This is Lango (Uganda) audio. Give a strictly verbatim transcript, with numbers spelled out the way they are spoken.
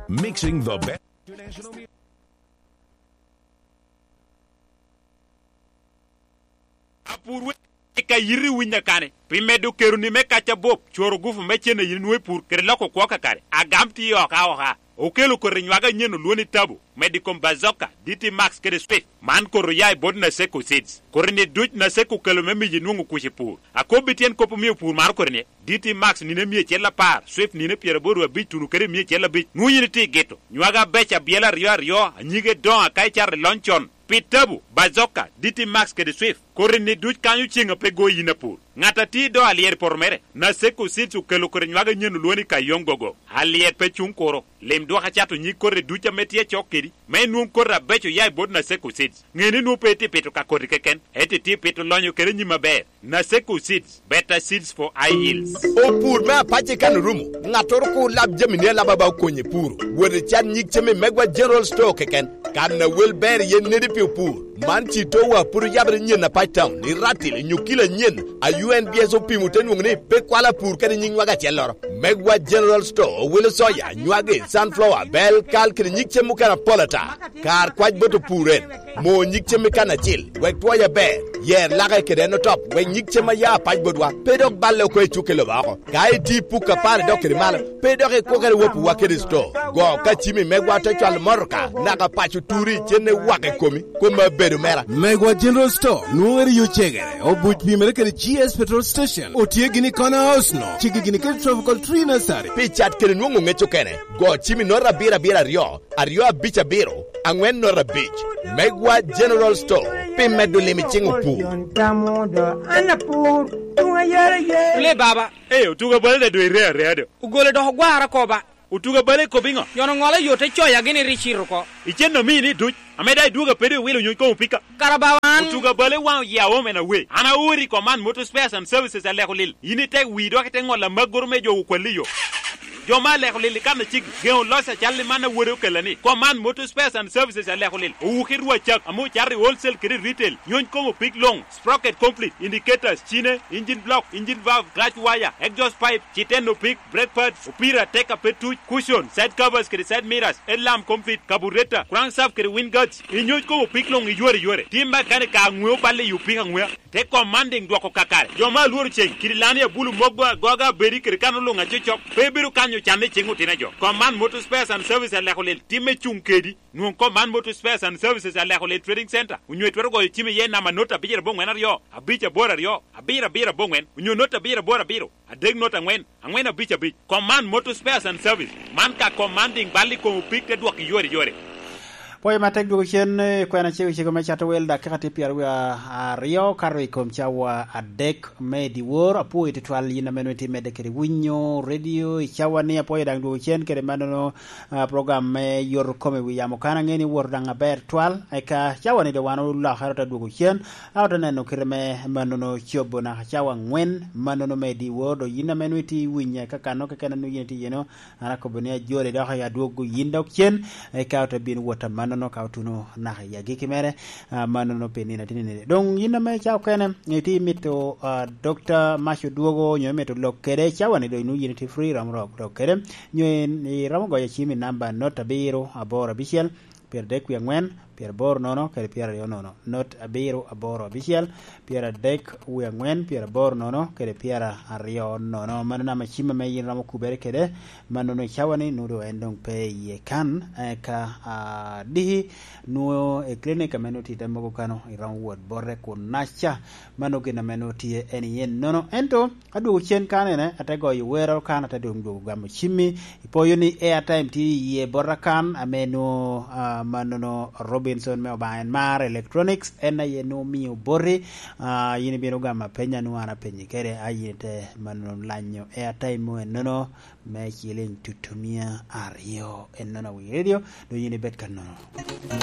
Mixing the best. Apur we ka yiti winy akane, pi medo keroni me kac abop, cworo gufu me cen a yin inwoŋo i pur, kede loko kwo kakare. Agam tye oka oka. Okelo koti nywage anyen olwoni Tabu, medo i kom Bazooka, D T Max kede Swift. Man koti oya i bot Naseko Seeds. Koti-ni duc Naseko okelo me miyi nwoŋo kuc i pur. Akobbi tyen kop omio pur maro koti-ni. D T Max nino mia acel apar, Swift nino pyeraboro abic tuno kede mia acel abic. Nwoŋo yin itye i gito. Nywage abeco abyela aryo aryo, anyige doŋo aka icato i lony con. Pi Tabu, Bazooka, D T Max kede Swift, koti-ni duc kanyo ceŋ a pe go yin apur. Ŋat a tye i do alyet i poto mere, Naseko Seeds okelo koti nywage anyen olwoŋo ni Kayong Gogo. Alyet pe cuŋ kuro. Lim dwok acato nyig koti duc ame tye acok kedi, me inwoŋ koti abeco oya i bot Naseko Seeds. Ŋe ni nwoŋo pe itye pito ka koti keken, ento itye pito lonyo kede nyim aber. Naseko Seeds, better seeds for high yields. Opur me apac i kan orumo, ŋattoro kur lab jamini alaba ba okonye puro. Wot icat nyig cem i Megwa General Store keken. Kan a wel ber iye nedi pi opur. Man ci towa pwod oyabere nyen apac town, i Ratil, i Nyukila nyen, a U N B S opimo te nwoŋo ni pe kwalo apur kede nyig nywage acelloro. Megwa General Store owelo soya, nywage, sunflower, bel, kal kede nyig cem mukene apol ata. Kar kwac bot opur en, mo nyig cem i kan acil, wek twoye aber, yer lake kede en otop, wek nyig cem a ya apac botwa pe dok balle oko i cukke lobo oko. Ka itye i puk apar idok kede malo, pe dok ikwokere wopiwa kede sto. Go ka cimi megwa te cwalo motoka, naka paco turi, cen iwako i komi, kome abedo mera. Megwa General Store, nwoŋere yo cegere, obuc pimere kede G S Petrol Station, otye gini i Corner House no, cigi gini kede Tropical Tree Nursery. Pi cat kede nwoŋo ŋec okene, go cimi nota abiro abiro aryo, aryo abic abiro, aŋwen nota abic. Megwa General Store, pi medo lim i ciŋ opur. An apur, tuŋ ayara ye. Le baba. Ee, otuga bale da dwe ire area do. Ogole dok ogwara koba. Otuga bale ikobi ŋo? Yon oŋolo yo te coya gini ri cito oko. Icen omii ni duc, ame da idwogo apedo iwilo nyuc koŋ opika. Kara bawa an. Otuga bale waŋ oye aom en awe. An aori i Command Motor Spares and Services aleko lil. Yin ite wi dok ite ŋolo amagoro me jo okwalli yo. Jo ma aleko lil i kan aciki, geŋo loc acal i man a wode okella ni, Command Motor Spares and Services aleko lil, owuki rwa cak, ame ocato i wholesale kede retail, nyony koŋ opik luŋ, sprocket complete, indicators, cine, engine block, engine valve, clutch wire, exhaust pipe, citeno pik, brake pads, opira, teka pe tuc, cushion, side covers kede side mirrors, headlamp complete, carburetor, crankshaft kede wind guards, inyuc koŋ opik luŋ iyore yore. Tim makanika aŋweo balle i opik aŋwea. Te commanding dwoko kakare. Jo ma alworo ceng, kidi lani abulu mogo agoga abedi kede kan oluŋ acocok, pe bedo kanyo canne i ceng otino jo. Command Motor Spares and Service aleko lel timme cuŋ kedi. Nwoŋ Command Motor Spares and Services aleko lel Trading Center, onyo itwero goyo cim iye namba not abicel aboŋwen aryo, abic aboro aryo, abiro abiro aboŋwen, onyo not abiro aboro abiro, adek not aŋwen, aŋwen abic abic. Command Motor Spares and Service. Man ka commanding bal i kom opik te dwok iyore yore. Pwoyo matek dwogo cen, eh, kwena cego cego me cato wel, dakika tye pyeraryo aryo kato i kom cawa adek me dyewor. Apwoyo tutwal yin ame nongo itye medde kede winyo redio i cawa ni. Apwoyo daŋ dwogo cen kede mannono, ah, program me yoto kome wi yamo kan. Aŋeo ni owoto daŋ aber twal. Eka cawa ni doŋ wan olokere ote dwogo cen. A ote neno kite me mannono cobo naka cawa aŋwen, mannono me dyewor, dok yin ame nongo itye winye ka kanno keken a nongo yin itye iyeno, an akobo ni ajoli dok adwoggo yin dok cen, eka ote bino wot amannono ka otuno naka i agikki mere, ah, mannono pi nino atye nini. Doŋ yin ame ca okene, itye imito, ah, Dokta Mac odwogo, onyo imito lok kede, cawa ni doŋ nongo yin itye free, iromo lok, lok kede, nyo in iromo goyo cim i namba not abiro aboro abicel, pyeradek wie aŋwen, pyeraboro nono, kede pyeraryo nono, not abiro aboro abicel, pyeradek wie aŋwen, pyeraboro nono, kede pyeraryo nono. Mano namba cim ame yin iromo kubere kede, mannono i cawa ni nwoŋo en doŋ pe iye kan, eka, ah, diki nwoŋo i clinic ame nwoŋo tye i te mogo kano, iromo wot bote kun naca, mano gin ame nwoŋo tye en iye nono. Ento, adwogo cen kan ene, ate goyo wero kan, ate doŋ dwogo gamo cimmi. Ipoyo ni airtime tye iye bota kan, ame nwoŋo, ah, mannono Robinson me Obaŋa en mar Electronics, en aye nwoŋo omio boti, ah, yin ibino gamo apenya nwoŋo an apenyi kede, a yin ite mannono lanyo airtime mo ennono me ciliŋ tutumia aryo ennono a wi redio, dok yin ibed ka nono.